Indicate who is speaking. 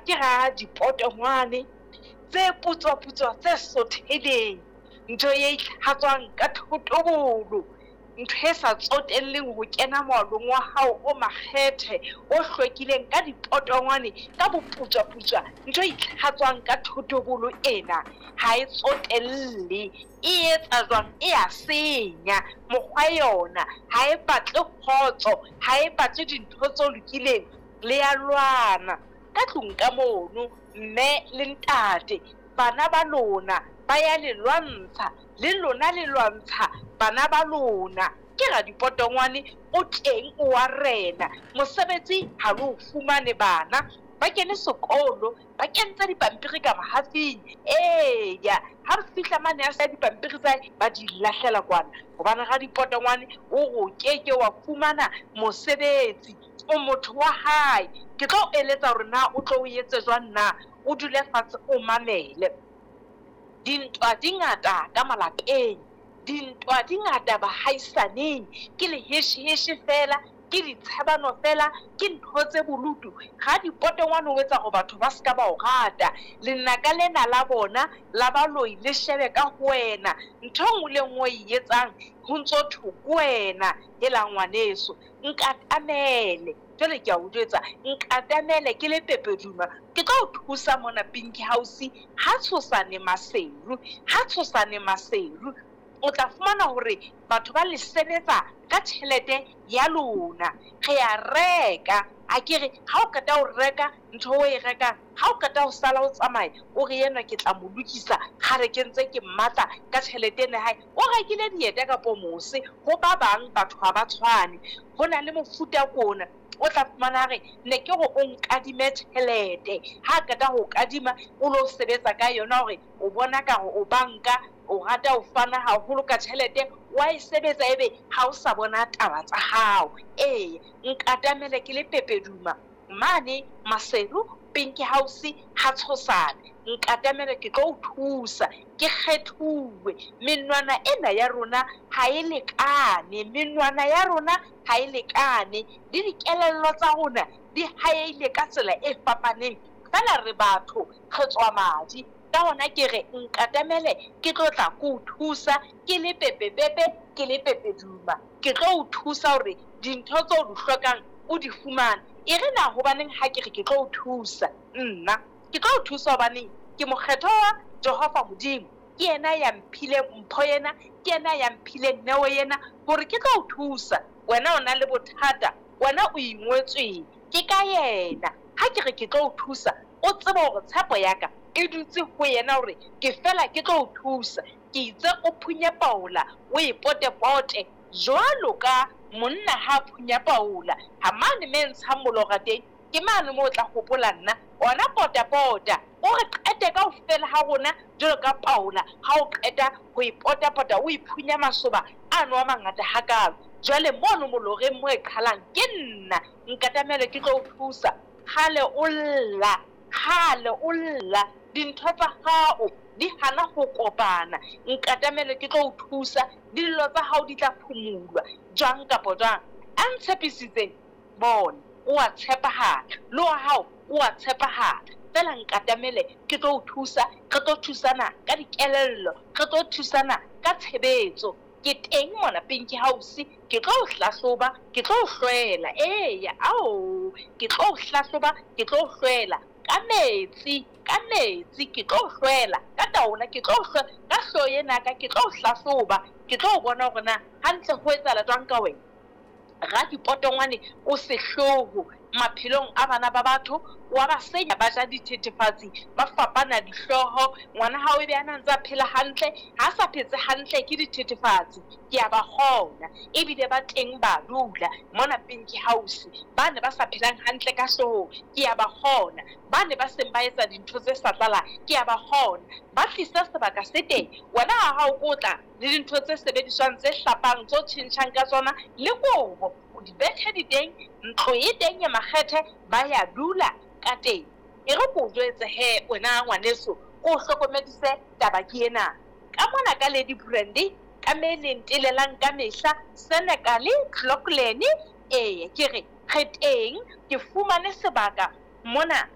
Speaker 1: Ke radipotongwane tse putswa-putswa tse sothehileng, ntho e itlhatswang ka thotobolo, ntho e sa tsotelleng ho kena moalong wa hao o makgethe, o hlwekileng ka dipotongwane ka boputswaputswa, ntho e itlhatswang ka thotobolo ena ha e tsotelle. E etsa jwang? E a senya mokgwa yona, ha e batle kgotso, ha e batle dintho tse lokileng, le ya lwana ka tlung ka mono, mme le ntate, bana ba lona ba ya le lwantsha, le lona le lwantsha bana ba lona. Ke radipotongwane o teng o wa rena, mosebetsi ha le o fumane bana ba kene sekolo, ba kentse dipampiri ka mahafing. Eya, ha re fihla mane a sa dipampiri tsa hae ba di lahlela kwana, hobane radipotongwane o re o keke wa fumana mosebetsi, o motho wa hae. Ke tlo o eletsa hore na o tlo o etse jwang na, o dule fatshe o mamele. Dintwa di ngata ka malapeng, dintwa di ngata bahaisaneng, ke lehesheheshe feela, ke ditshebano feela, ke ntho tse bolutu. Radipotongwane o etsa hore batho ba se ka ba o rata. Lenaka lena la bona la baloi le shebe ka ho wena. Ntho e nngwe le e nngwe o e etsang ho ntso thwe ke wena. Hela ngwaneso, nkatamele. Jwale ke a o jwetsa, nkatamele ke le Pepeduma, ke tlo o thusa mona Pinky House ha tshosane Maseru, ha tshosane Maseru. O tla fumana hore batho ba le sebetsa ka tjhelete ya lona. Re a reka, akere ha o qeta ho reka ntho o e rekang, ha o qeta ho sala o tsamaya, o re enwa ke tla mo lokisa, kgale ke ntse ke mmatla ka tjhelete ena ya hae. O rekile dieta kapo mose, ho ba bang batho ha ba tshwane. Ho na le mofuta kona o tla fumana a re ne ke re o nkadime tjhelete, ha qeta ho kadima o lo sebetsa ka yona hore o bona ka re o banka, o rata ho fana haholo ka tjhelete, wa e sebetsa ebe ha o sa bona taba tsa hao. Ee, nkatamele ke le Pepeduma mane Maseru Pinky House ha Tshosane, nkatamele ke tlo o thusa, ke kgethuwe. Menwana ena ya rona ha e lekane, menwana ya rona ha e lekane, le dikelello tsa rona di haehile ka tsela e fapaneng, feela re batho, re tswa madi. Ka hona ke re nkatamele ke tlo tla ke o thusa, ke le Pepepepe, ke le Pepeduma, ke tlo o thusa hore dintho tseo o di hlokang o di fumane. E re na hobaneng ha ke re ke tlo o thusa? Nna ke tlo o thusa hobaneng ke mokgethwa wa Jehova Modimo. Ke yena ya mphileng mpho ena, ke yena ya mphileng neo ena hore ke tlo o thusa. Wena o na le bothata, wena o ingwetsweng ke ka yena. Ha ke re ke tlo o thusa, o tsebe hore tshepo ya ka e dutse ho yena hore ke fela ke tlo o thusa. Ke itse o phunye paola, o e potepote jwalo ka monna ha phunya paola. Ha mane me ntshang molora teng, ke mane moo o tla hopola nna. Ona potapota, o re qete kaofela ha rona jwalo ka paola ha o qeta ho e potapota, o e phunya masoba ano a mangata hakalo. Jwale mono moloreng mo e qhalang ke nna, nkatamele ke tlo o thusa. Kgale o lla, kgale o lla, dintho tsa hao di hana ho kopana. Nkatamele ke tlo o thusa, dillo tsa hao di tla phumulwa jwang kapa jwang. A ntshepisitseng, bona, o a tshepahala, le wa hao o a tshepahala. Feela nkatamele ke tlo o thusa, re tlo thusana ka dikelello, re tlo thusana ka tshebetso. Ke teng mona Pinky House, ke tlo o hlahloba, ke tlo o hlwela. Eya, ao, ke tlo o hlahloba, ke tlo o hlwela ka metsi, ka metsi, ke tlo o hlwela ka taola, ke tlo o hlwela ka hlooho ena ka, ke tlo o hlahloba, ke tlo o bona hore na hantle ho etsahala jwang ka wena. Radipotongwane o sehloho maphelong a bana ba batho, wa ba senya, ba ja dithethefatsi, ba fapana dihlooho. Ngwana hao ebe a na ntse a phela hantle, ha sa phetse hantle ke dithethefatsi. Ke a ba kgona, ebile ba teng ba dula mona Pinky House, ba ne ba sa phelang hantle ka hloohong, ke a ba kgona. Ba ne ba seng ba etsa dintho tse sa tlalang, ke a ba kgona. Ba tlisa sebaka se teng, wena ha hao ko tla le dintho tse sebediswang tse hlapang, tse o tjhentjhang ka tsona, le kobo, dibethe di teng, ntlo e teng ya makgethe, ba ya dula ka teng. E re ke o jwetse he wena ngwaneso, ke o hlokomedise taba ke ena. Ka mona ka Lady Brandy, ka me le ntelelang ka mehla, Senekal, Clocolan, ee, ke re re teng, ke fumane sebaka mona.